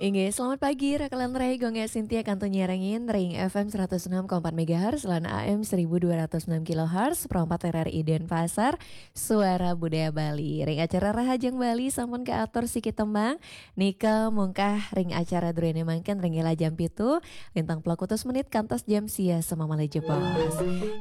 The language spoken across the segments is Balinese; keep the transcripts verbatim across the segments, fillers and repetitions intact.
Inggih, selamat pagi, Raka lan Rai, Gung Gé Sintia kantun nyarengin ring F M seratus enam koma empat megahertz lan A M seribu dua ratus enam kilohertz, Pro empat R R I Denpasar, Suara Budaya Bali. Ring acara Rahajeng Bali sampun kaatur siki tembang, nika mungkah ring acara druéné mangkin ring jam pitu, lintang puluh kutus menit kantos jam sia semamali jebos.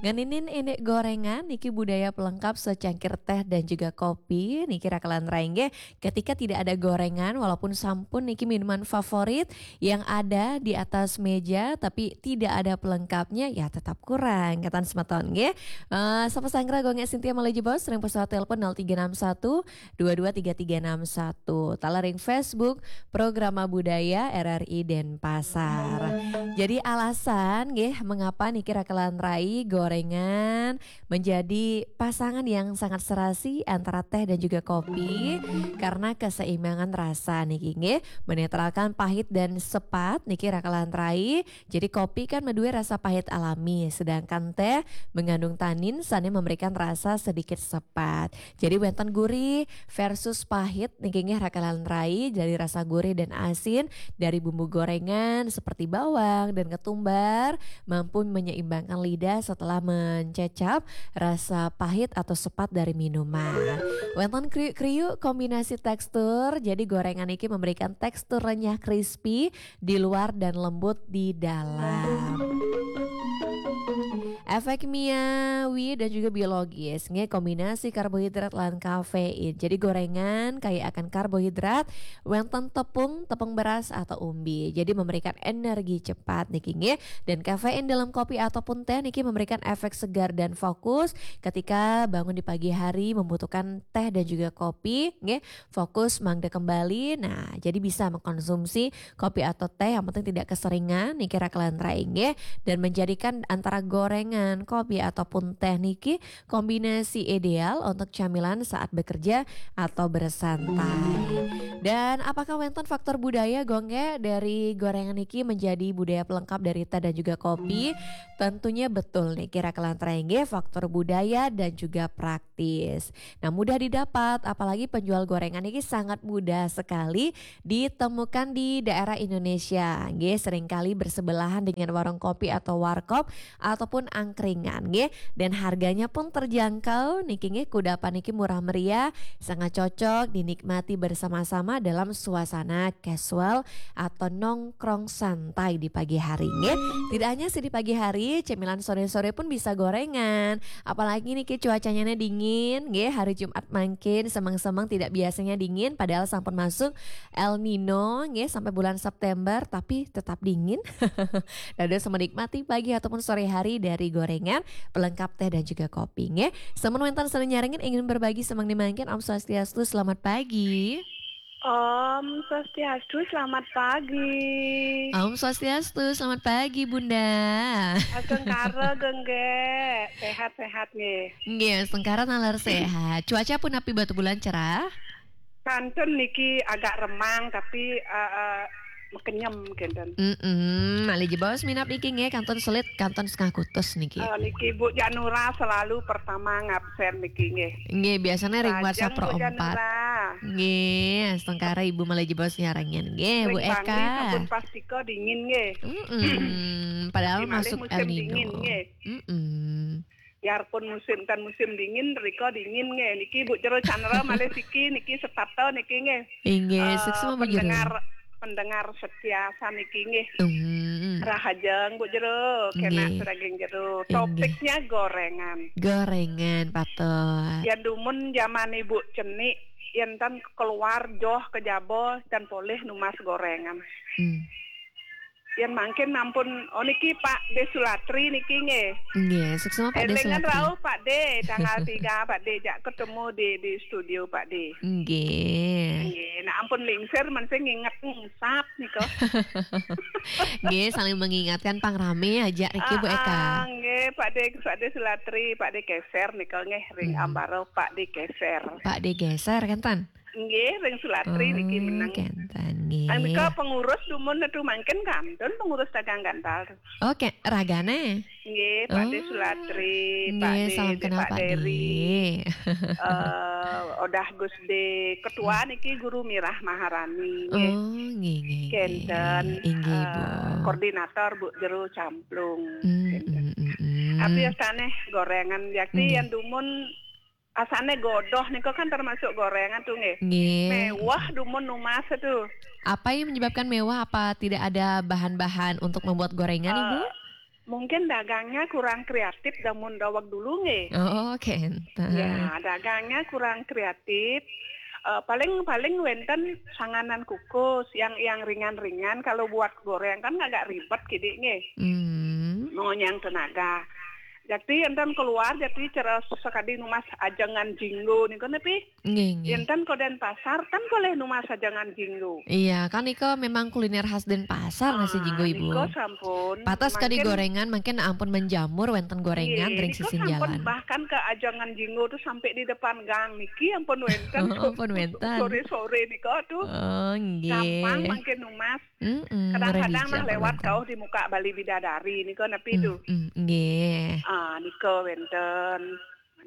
Ngeninin indik gorengan, niki budaya pelengkap secangkir teh dan juga kopi, niki Raka lan Rai nggih. Ketika tidak ada gorengan, walaupun sampun niki minuman favorit yang ada di atas meja, tapi tidak ada pelengkapnya, ya tetap kurang, katan semeton nggih. Eh, sapa sanggra Gung Gé Sintia malih jebos, ring pesawat telepon nol tiga enam satu dua dua tiga tiga enam satu. Taler ring Facebook, Programa Budaya R R I Denpasar. Jadi alasan nggih, mengapa niki Raka lan Rai gorengan menjadi pasangan yang sangat serasi antara teh dan juga kopi, karena keseimbangan rasa niki nggih, menetralkan pahit dan sepat niki Raka lan Rai. Jadi kopi kan madué rasa pahit alami, sedangkan teh mengandung tanin sané memberikan rasa sedikit sepat. Jadi wénten gurih versus pahit niki nggih Raka lan Rai, dari rasa gurih dan asin dari bumbu gorengan seperti bawang dan ketumbar mampu menyeimbangkan lidah setelah mencecap rasa pahit atau sepat dari minuman. Wénten kriuk-kriuk kombinasi tekstur, jadi gorengan niki memberikan tekstur renyah crispy di luar dan lembut di dalam. Efek kimiawi dan juga biologis, nggih, kombinasi karbohidrat lan kafein. Jadi gorengan kaya akan karbohidrat, wénten tepung, tepung beras atau umbi. Jadi memberikan energi cepat niki nggih. Dan kafein dalam kopi ataupun teh niki memberikan efek segar dan fokus ketika bangun di pagi hari membutuhkan teh dan juga kopi nggih. Fokus mangda kembali. Nah, jadi bisa mengkonsumsi kopi atau teh yang penting tidak keseringan niki Raka lan Rai nggih. Dan menjadikan antara gorengan, kopi ataupun teh niki kombinasi ideal untuk camilan saat bekerja atau bersantai. Dan apakah wénten faktor budaya Gung Gé dari gorengan niki menjadi budaya pelengkap dari teh dan juga kopi? Tentunya betul niki Raka lan Rai nggih, faktor budaya dan juga praktis. Nah, mudah didapat, apalagi penjual gorengan niki sangat mudah sekali ditemukan di daerah Indonesia. Nggih, seringkali bersebelahan dengan warung kopi atau warkop ataupun angkringan nggih. Dan harganya pun terjangkau niki nggih, kudapan niki murah meriah, sangat cocok dinikmati bersama-sama dalam suasana casual atau nongkrong santai di pagi hari nggih. Tidak hanya sih di pagi hari, cemilan sore-sore pun bisa gorengan. Apalagi niki cuacanya dingin nggih, hari Jumat mangkin semeng-semeng tidak biasanya dingin, padahal sampun masuk El Nino nggih sampai bulan September, tapi tetap dingin. Dados menikmati pagi ataupun sore hari dari gorengan, pelengkap teh dan juga kopi nggih. Sampun wénten sané nyarengin ingin berbagi semeng mangkin, Om Swastiastu, selamat pagi. Om Swastiastu, selamat pagi. Om Swastiastu, selamat pagi Bunda. Astungkara Gung Gé, sehat-sehat nggih. Nggih, astungkara taler sehat. Cuaca punapi, batubulan cerah? Kantun niki agak remang tapi eh, eh, mekenyem kenten. Mm-mm, malih jebos minab niki nggih, kantun selit, kantun setengah kutus niki. Eh, niki Bu Janura selalu pertama ngabsen niki nggih. Nggih, biasanya ring Rahajeng WhatsApp Pro Bu empat. Janura. Nggih, astungkara Ibu malih jebos nyarengin. Nggih, Bu Ring Bangli Eka. Sampun pastika dingin nggih. Mm-mm, padahal Niki malih masuk musim El Nino. Dingin nggih. Mm-mm. Biarpun musim, ten musim dingin, rika dingin nggih. Niki Bu Jero Chandra malih siki niki setata niki nggih. Inggih, eh, suksma Bu Jero. Pendengar, pendengar setia saniki nggih. Hmm. Rahajeng Bu Jero, kena Nggih. Suraging Jero. Inggih. Topiknya gorengan. Gorengan, patut. Yan dumun zaman Ibu cenik, yan ten keluar joh ke jaba, ten polih numbas gorengan. Hmm. Yan mangkin ampun, oh niki Pak De Sulatri niki nggih. Nggih, suksma Pak De Elingan Sulatri. Rauh Pak De, tanggal tiga Pak De jak ketemu di, di studio Pak De. Nggih. Nggih, nah ampun lingsir mesti nginget ngusap nika. Nggih, saling mengingatkan pang rame aja niki Bu Eka. Ah, ah, nggih, Pak De, Pak De Sulatri, Pak De Keser nika nggih ring Hmm. Ambaro Pak De Keser. Pak De Geser kan tan? Nggih, ring Sulatri niki meneng. Kenten nggih. Nika pengurus dumun tu mangkin kantun pengurus dagang gantal tu. Oke, ragane. Nggih, Pakde Sulatri, nggih, Pakde, salam kenal, Pak Pakde. Deri. Eh, Odah Gusde, ketua niki Guru Mirah Maharani, nggih. Oh, nggih, nggih, nggih. Kenten, inggih, eh, Bu. Koordinator Bu Jero Camplung. Hmm, kenten. Hmm, hmm, hmm. Tapi asane gorengan yakti yang dumun asane godoh nika kan termasuk gorengan tu, nggih. Nggih. Mewah dumun numas tu. Apa yang menyebabkan mewah? Apa tidak ada bahan-bahan untuk membuat gorengan, Ibu? Eh, mungkin dagangnya kurang kreatif damun daweg dulu, nggih. Oh, kenten. Ya, dagangnya kurang kreatif. Eh, paling, paling wenten sanganan kukus yang, yang ringan-ringan. Kalau buat goreng kan agak ribet kidik, nggih. Hmm. Mengonyang tenaga. Jati enten keluar, jati cara sakadi numas ajengan jinggo nika nepi. Nggih, nggih. Enten ko Denpasar, kan polih numas ajengan jinggo. Iya, kan nika memang kuliner khas Denpasar, nasi jinggo, Ibu. Ah, nika sampun. Patas kadi mangkin gorengan, mangkin ampun menjamur wenten gorengan ring sisin jalan. Nggih, nika sampun, bahkan ke ajengan jinggo tu sampai di depan gang niki ampun wenten. Ampun wenten. Sore-sore nika tu. Oh, nggih. Gampang mangkin numas. Mm-mm, kadang-kadang mah lewat kauh di muka Bali Bidadari nika nepi tu. Mm-mm, nggih. Ah, nika wenten.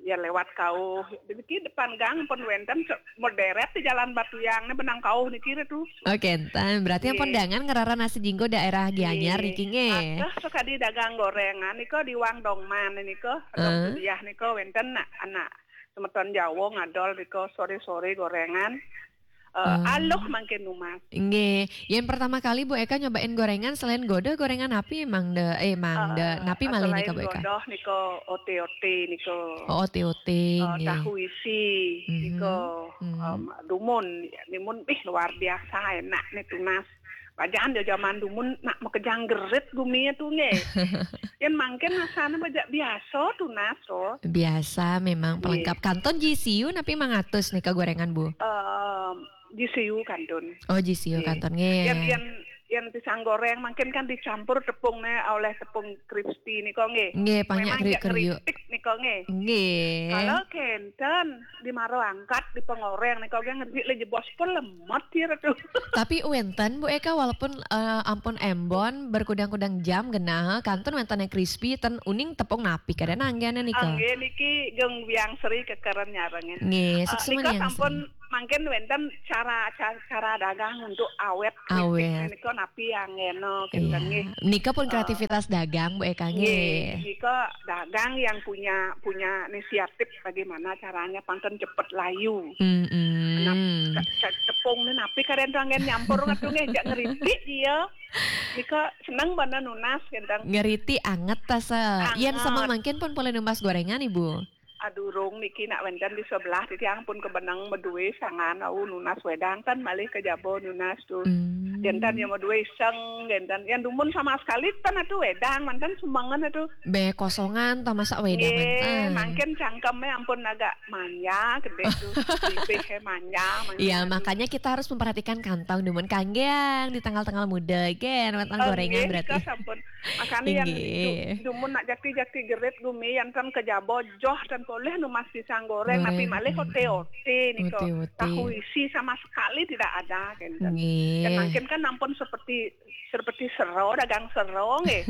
Ya lewat kauh. Niki depan gang pun wenten se-, moderet di Jalan Batuyang ni benang kauh niki tu. Oke, enten. Berarti ampun dangan ngerara nasi jinggo daerah Gianyar niki nggih. Aduh, sakadi dagang gorengan nika di Wang Dongman nika, ada kuliah nika wenten nak anak semeton Jawa ngadol nika sore-sore gorengan. Eh, aluh mangkin numas. Nggih. Yen pertama kali Bu Eka nyobain gorengan, selain godoh, gorengan napi mangda, eh, mangda, eh, napi malih nika, Bu Eka? Selain godoh nika, ote-ote nika. Oh, ote-ote, eh, nggih. Tahu isi nika, em, dumun, ya, dumun, ih, luar biasa enak nih tunas. Pajan ya zaman dumun nak makejang gerit gumi tu nggih. Yen mangkin rasane bajak biasa tunas to. Biasa memang pelengkap. Nggih. Kantun G C U napi mangatus nika gorengan, Bu? Em, G C U kantun. Oh, G C U kantun, nggih. Yen, yen, yen pisang goreng mangkin kan dicampur tepung ne oleh tepung crispy nika nggih. Nggih, banyak. Memang kriuk-kriuk. Ngeripik nika nggih. Nggih. Kalau kenten di maro angkat di pengoreng nika nggih ngeripik le jebos pun lemot kira tu. Tapi wenten Bu Eka walaupun, eh, ampun embon berkudang-kudang jam genah kantun wenten yang crispy ten uning tepung napi kada nanggen nika. Nggih niki geng biang seri kekeren nyarengin. Nggih, eh, suksma nika yang sampun seri. Mangkin wenten cara, cara, cara dagang untuk awet. Awet. Keripik nika napi anggeno kenten nggih. Iya. Nika pun, eh, kreativitas dagang, Bu Eka, nggih. Nggih, nika dagang yang punya, punya inisiatif bagaimana caranya pantun cepet layu. Mm-mm. Nah, ca-, ca-, tepung ni napi karen tu anggen nyampur ngatu nggih, jak ngeripik dia. Nika seneng bana nunas kenten. Ngeripik anget ta se. Anget. Yen sama mangkin pun polih numas gorengan, Ibu. Adurung niki nak wenten di sebelah, titiang pun kebeneng medue sangan, au nunas wedang kan malih ke jaba nunas tu. Hmm. Enten yang medue iseng, enten yang dumun sama sekali ten atu wedang, manten sumbangan atu. Be kosongan ta masak wedang. Nggih, manten. Mangkin cangkeme ampun agak manja, gede tu. Bibih he manja, manja. Iya, makanya kita harus memperhatikan kantong dumun kanggeang di tanggal-tanggal muda, gen, wenten gorengan berarti. Oh, nggih, nika sampun. Makanya yang du-, dumun nak jati-jati gerit gumi, yang kan ke jaba joh dan polih numas pisang goreng, tapi malih ote-ote nika. Ote-ote. Tahu isi sama sekali tidak ada, kan. Nggih. Dan mangkin kan ampun seperti, seperti sero, dagang sero, nggih.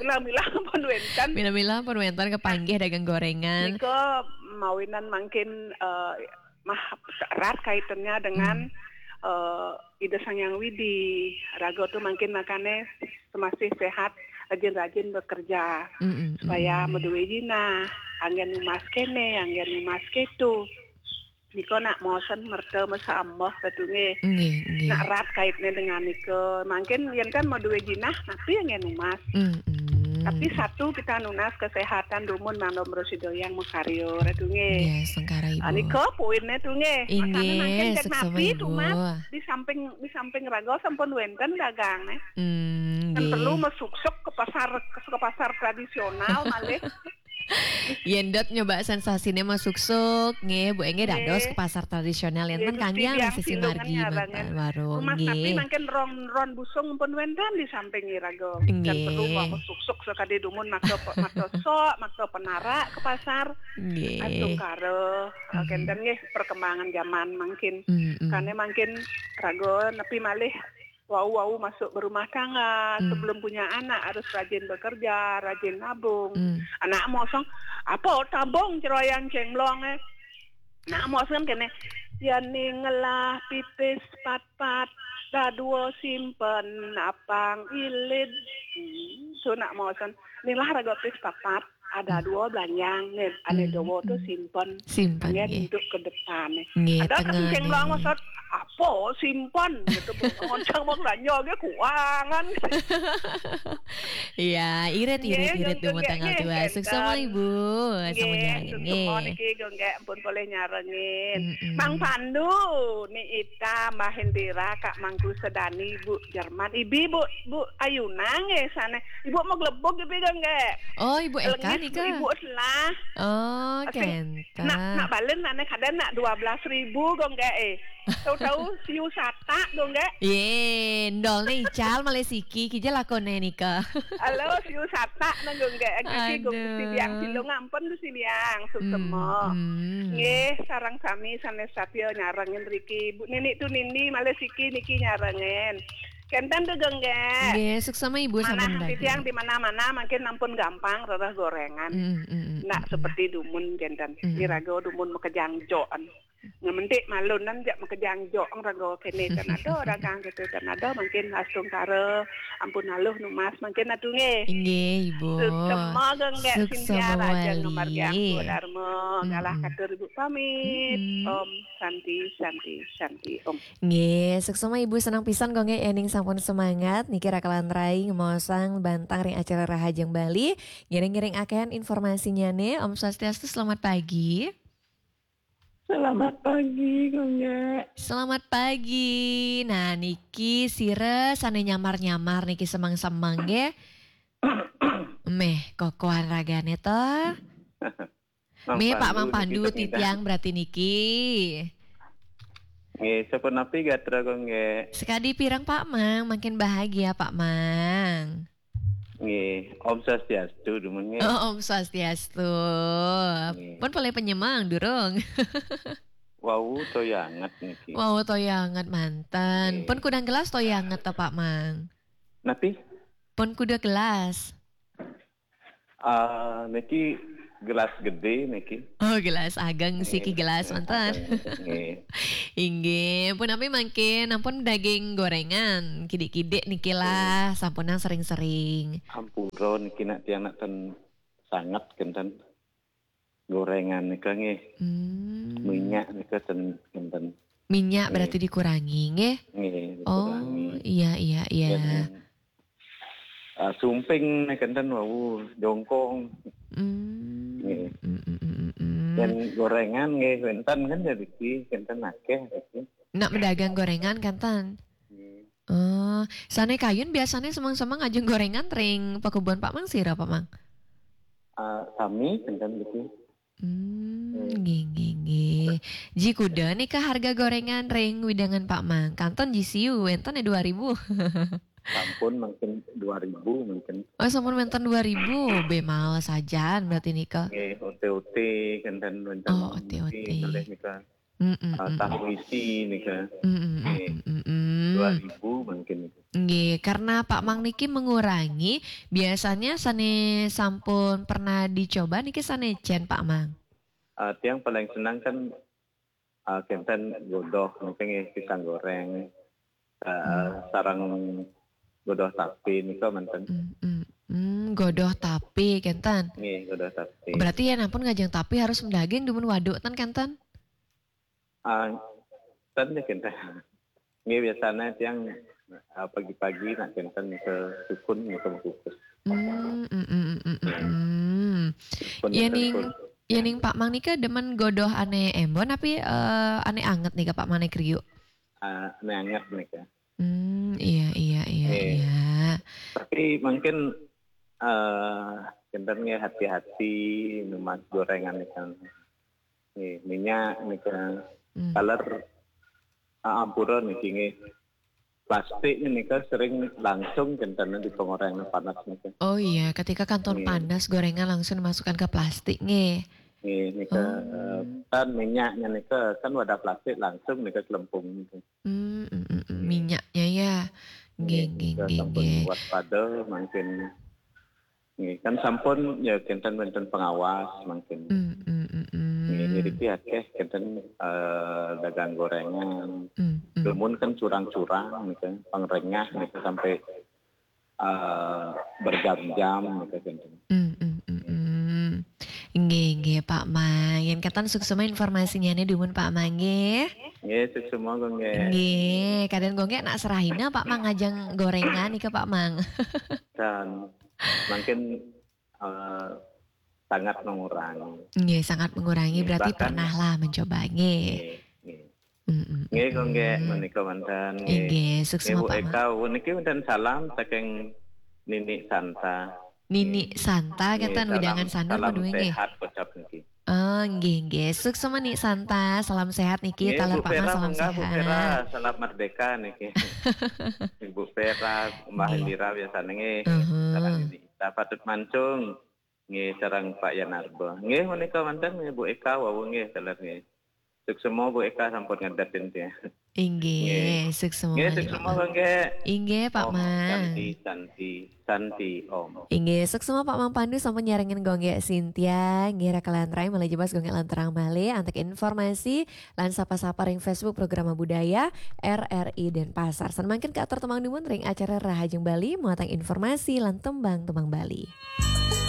Mila-mila pun wenten. Mila-mila pun wenten kepanggih dagang gorengan. Nika mawinan mangkin, eh, mah erat kaitannya dengan, eh, Ida Sang Hyang Widi. Raga tu mangkin makane semasih sehat, rajin-rajin bekerja. Mm-mm, supaya medue jinah, anggen numas kene, anggen numas ketu. Nika nak mosen merta mesambah katu nggih. Nggih, nggih. Nak erat kaitne dengan nika. Mangkin yen kan medue jinah, napi anggen numas. Mm-mm. Tapi satu kita nunas kesehatan dumun mangda prasida yang makarya, Ratu nggih. Nggih, sengkara, Ibu. Ah, nika poinne tu nggih. Inggih, makane mangkin cek suksma, napi Ibu. Tu, Mas, di samping, di samping raga sampun wenten dagang, eh. Hmm, nggih. Kan perlu mesuksuk ke pasar, ke, ke pasar tradisional malih. Yén dot nyoba sensasiné mah suksuk, nggih, Bu, nggih, dados Nggih. Ke pasar tradisional, yén Nggih, ten Gusti kanjang Biang sisi Silungan margi nyarangan. mantan warung, Rumah tapi nggih. Mangkin ron-ron busung pun wénten di samping iraga. Dan Nggih. Perlu mau suksuk sakadi dumun makta pe-, makta sok, makta penara ke pasar. Nggih. Astungkara, Mhm. kénten nggih perkembangan zaman mangkin. Mm-mm. Karena mangkin raga nepi malih wau-wau masuk berumah tangga, Hmm. sebelum punya anak harus rajin bekerja, rajin nabung. Hmm. Anak mosong, apa tabung ceroyang cénglong, eh? Nak mosong kéné, yani ngelah pipis pat-pat, dadua simpen apang ilid. Hmm, tu nak mosong. Nilah raga pis papat, ada dua belanjang nih, ane Hmm. dawa tu simpen. Simpen, Nggih, nggih. Untuk ke depan nih. Nggih, Ada tengah kencing nih. Bang Maksud, apa simpen? Gitu, ngoncang mau belanja ge kuangan. Iya, irit, irit, Nggih, irit, nggih, dumun tanggal nggih, dua. nggih, Suksema, nggih. Ibu. Sama Nggih, nyarengin, suksema nggih. Niki, nggih, nggih, ampun boleh nyarengin. Mm-mm. Mang Pandu, Ni Ita, Mbah Indira, Kak Mangku Sedani, Bu Jerman, Ibi, Bu, Bu Ayuna, nggih, sana. Ibu mau gelebok, Ibi, nggih, nggih. Oh, Ibu Eka Lengis, nika. Ibu Selah. Oh, Asing. Kenta. Nak, nak balen, nak, nak, kadang nak dua belas ribu, nggih, nggih, eh. Tahu-tahu, siu satak, nggih, nggih. Ye, ndol nih, ical, malih siki, kija lakone nika. Halo, siu satak, nang, nggih, nggih. Kaki, nggih, Aduh. Gusti Biang Silung, ampun, Gusti Biang, suksema. Hmm, hmm. Nggih, sareng sami sanes satya nyarengin riki. Bu Nini tu Nini, malih siki niki nyarengin. Kenten tu, nggih, nggih. Nggih, suksema Ibu, manah sampun nanti daging. Siang di mana-mana, mungkin ampun gampang, rereh gorengan. Hmm, hmm, hmm, nak hmm, seperti dumun, kenten. Hmm. Iraga dumun makejang jokan. Ngementik malunan jak makejang jok, raga kene tan ada, dagang gitu tan ada, mungkin astungkara, ampun aluh numas, mungkin atu nggih. Inggih, Ibu. Suksema, nggih, Cynthia suksema Raja wali. Ngamargiang Dharma, galah, mm-mm, katur Ibu pamit. Mm-mm. Om Santi, Santi, Santi, Om. Nggih, suksema Ibu, senang pisan, nggih, ening sampun semangat niki rakalan rai ngemaosang bantang ring acara Rahajeng Bali. Ngiring-ngiring akéhan informasinya nih. Om Swastiastu, selamat pagi. Selamat pagi, Gongge. Selamat pagi. Nah, niki sira sane nyamar-nyamar niki semeng-semeng nggih. Meh, kokohan ragane to. Mang Meh, Pak Mang Pandu niki Pandu, titiang berarti niki. Nggih, sapunapi gatra, Gongge? Sekadi pirang, Pak Mang? Makin bahagia, Pak Mang. Nggih, Om Swastiastu, dumun nggih. Oh, Om Swastiastu. Nggih. Pun polih penyemang, durung? Wau, toya anget niki. Wau, toya anget manten. Nggih. Pun kudang gelas toya anget ta, Pak Mang? Napi? Pun kuda gelas. Ah, niki gelas gede niki. Oh, gelas ageng siki. Nggih, gelas manten. Ageng, nggih. Inggih, punapi mangkin, ampun daging gorengan, kidik-kidik niki lah, nggih, sampunang sering-sering. Ampura niki nak tiang nak ten sanget kenten gorengan nika nggih. Hmm. Minyak nika ten kenten. Minyak, nggih, berarti dikurangi nggih? Nggih, dikurangi. Oh, iya, iya, iya. Dan ah, sumping nih kenten wau, jongkong. Hmm. Nggih. Mm, mm, mm, mm, mm. Dan gorengan nggih wenten kan jadi ki, kenten akeh iki. Nak mendagang gorengan kenten? Nggih. Oh, sane kayun biasane semeng-semeng ngajeng gorengan ring pakubon Pak Mang sira, Pak Mang? Ah, sami kenten iki. Hmm, nggih, nggih, nggih. Ji kuda nika harga gorengan ring widangan Pak Mang. Kanton ji siu, wenten ya dua ribu. Sampun mungkin dua ribu mungkin. Oh, sampun wenten dua ribu, be mahal sajan berarti nika. Nggih, ote-ote kenten wenten. Oh, ote-ote. Nggih, kalih nika. Mm, mm, ah, mm, tahu isi nika. Mm, mm, mm, nggih, mm, mm, mm. Dua ribu mungkin nika. Nggih, karena Pak Mang niki mengurangi, biasanya sane sampun pernah dicoba niki sane cen, Pak Mang? Ah, tiang paling senang kan, ah, kenten godoh, mungkin nggih, pisang goreng, ah, hmm, sareng godoh tapi nika manten. Hmm, hmm, hmm, godoh tapi kenten. Nggih, godoh tapi. Berarti ya ampun ngajeng tapi harus mendaging dumun waduk ten kenten? Ah, ten ya kenten. Nggih, biasanya tiang, ah, pagi-pagi nak kenten ke sukun nika kukus. Hmm, mm, mm, mm, mm, mm. Pun ya enten ning, pun. Ya ning Pak Mang nika demen godoh ane embon tapi, eh, ane anget nika Pak Mang, ane kriuk? Ah, ane anget nika. Hmm, iya, iya, iya, eh, iya. Tapi mungkin, eh, Kinten nggih hati-hati numbas gorengan nika. Nggih, minyak nika. Hmm. Taler, ah, ampura niki nggih. Plastik nika sering langsung kinten di pengoreng panas nika. Oh iya, ketika kantun Nggih. Panas, gorengan langsung dimasukkan ke plastik nggih. Nggih, nika Oh. eh, kan minyaknya nika kan wadah plastik langsung nika kelempung nika. Hmm, mm, mm, mm, Nggih. minyaknya ya. Nggih, nggih, Nika nggih, sampun nggih. waspada mangkin. Nggih, kan sampun ya kinten wonten pengawas mangkin. Hmm, hmm, hmm, hmm. Nggih, niki akeh kinten eh, dagang gorengan. Hmm, hmm. Dumun kan curang-curang nika, pangrengah nika sampai eh, berjam-jam nika kinten. Hmm, hmm, hmm, hmm. Nggih, nggih, Pak Mang. Yen katan suksma informasinya nih dumun Pak Mang nggih. Nggih, suksma kok nggih. Nggih, kadang gue nggih nak serahina Pak Mang ngajeng gorengan nika Pak Mang. Dan mungkin eh, sangat mengurangi. Nggih, sangat mengurangi, Nggih, berarti bahkan pernah lah mencoba nggih. Nggih, nggih. Mm, mm, Nggih, kok nggih mm. menika manten. Nggih, suksma Nggih, Bu Pak Mang. Eka, niki wonten salam saking Nini Santa. Nini Santa Nggih, katan salam, wedangan sana salam menuwi nggih. Sehat ucap niki. Oh, nggih, nggih. Suksma Nini Santa, salam sehat niki, Nggih, taler Bu Pak Mang Vera, salam munggah Bu Vera, sehat. Selamat Merdeka niki. Ibu Vera, Mbah Nggih. Indira biasanya nggih. Uh-huh. Sekarang ini kita patut mancung. Nggih, sareng Pak Yanarba. Nggih, menika manten nggih Bu Eka wau nggih, taler nggih. Suksma Bu Eka sampun ngedetin ya. Inggih, suksma Nggih, malih, suksma Pak Mang. kok nggih. Inggih, Pak Om Mang. Santi, Santi, Santi, Om. Inggih, suksma Pak Mang Pandu sampun nyarengin Gonggek Sintia, nggih raka lan rai malih jebos Gonggek lan terang malih antuk informasi lan sapa-sapa ring Facebook Programa Budaya R R I Denpasar. San mangkin kaatur tembang dumun ring acara Rahajeng Bali muatan informasi lan tembang-tembang Bali.